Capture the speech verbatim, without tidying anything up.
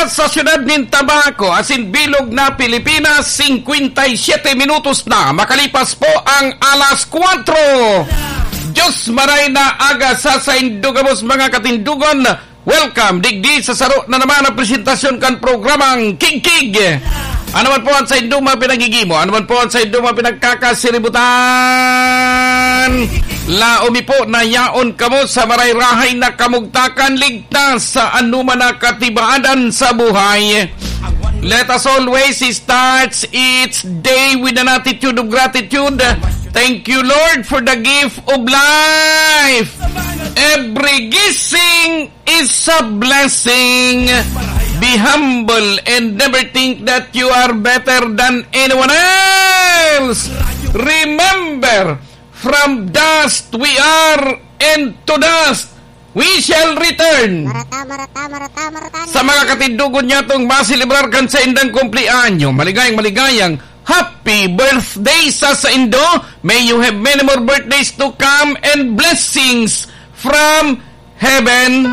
Sa siyudad nin Tabaco, asin bilog na Pilipinas, singkwenta y siyete minutos na makalipas po ang alas kwatro. Diyos maray na aga sa saindo gabos, mga katindogon. Welcome digdi sa saro na naman na presentasyon kan programang Kigkig. Ano man po ang saindong mga pinagigimo, ano man po ang saindong mga pinagkakasiributan, laomi po na yaon kamo sa marayrahay na kamugtakan, ligtas sa anuman na katibaadan sa buhay. Let us always start each day with an attitude of gratitude. Thank you, Lord, for the gift of life. Every gising is a blessing. Be humble and never think that you are better than anyone else. Remember, from dust we are, and to dust we shall return. Marata, marata, marata, marata. Sa mga katindogon niya tong maselebrar kan saindang kumpleanyo, maligayang, maligayang happy birthday sa saindo. May you have many more birthdays to come and blessings from heaven.